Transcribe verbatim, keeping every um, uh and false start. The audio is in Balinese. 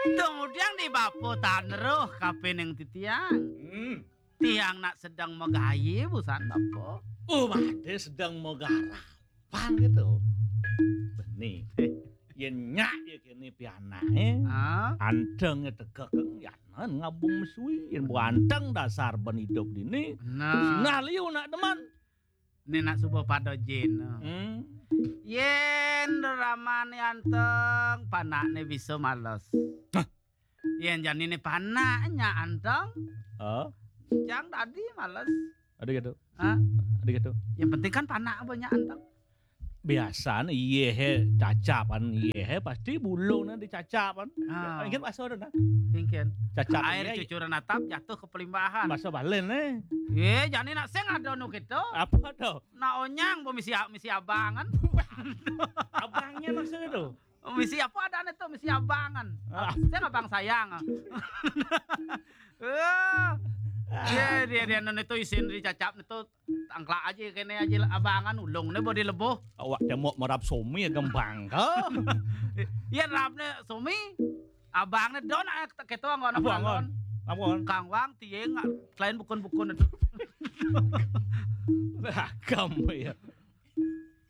Tumudiang di bapa taneruh kapining titiang. Hmm. Tiang nak sedeng magayi busan bapa. Oh, bade sedeng magarapan gitu. Beni. Yen nyak ya kene pianake. Ah, Anteng ya tegek yanan ngabung mesui. Yen buanteng dasar ben hidup dini. nah. Sinah liu nak demen. Ni nak suba pada jin. Hmm. Yen ramane anteng, panakne bisa males. Hah? Yen janine panaknya anteng, Oh, jang dadi males. ada gitu. Ha? Ada gitu. Yang penting kan panak banyak anteng. Biasane iye he cacapan, iye he pasti bulungnya dicacapan. Ah. Ingat pasal ada nah. Mungkin. Cacap Air iye. Cucuran atap jatuh ke pelimbahan. Masa balen eh. Ye, jani nak sing ada nu gitu. Apa tuh? Nak onyang bo misi misi abangan. Abangnya maksudnya tuh. Misi apa ada nih tuh, misi abangan. Ah. Sing abang sayang. Eh. Ye, dia dia nu itu isin dicacap itu tangklak aja kene aja abangan ulung ne bo dilebuh. Awak temok merap somi ya gembang ke. Ye rapne somi. Abangne don ae ketua anggon Apa anggon? Apa anggon? Kang Wang tieng selain bukun-bukun itu. Agam ya.